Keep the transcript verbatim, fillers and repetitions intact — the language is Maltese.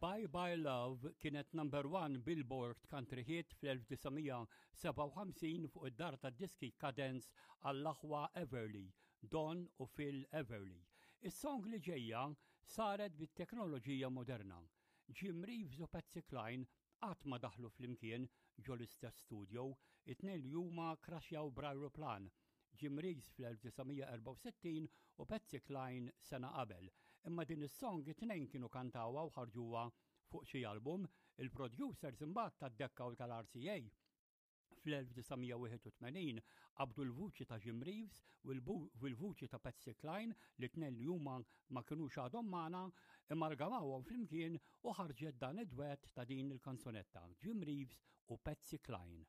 Bye Bye Love kienet number one Billboard Country Hit fl-elf disa' mija u sebgħa u ħamsin fuq id-dar tad-diski Cadence għall-aħwa Everly, Don u Phil Everly. Is-song li ġejja saret bit-teknoloġija moderna. Jim Reeves u Patsy Cline qatt ma daħlu flimkien ġo l-istess studio, it-tnejn li huma kraxjaw b'ajruplan. Jim Reeves fl-elf disa' mija u erbgħa u sittin u Patsy Cline sena qabel. Imma din is-song it-tnejn kienu kantawha u ħarġuha fuq xi album, il-producers imbagħad tad-Decca u tal-R C A fl-elf disa' mija u wieħed u tmenin qabdu l-vuċi ta' Jim Reeves u l-vuċi ta' Patsy Cline, li tnejn li huma ma kinux għadhom magħna, amalgamawhom flimkien u ħarġet dan id-dwett ta' din il-kanzunetta, Jim Reeves u Patsy Cline.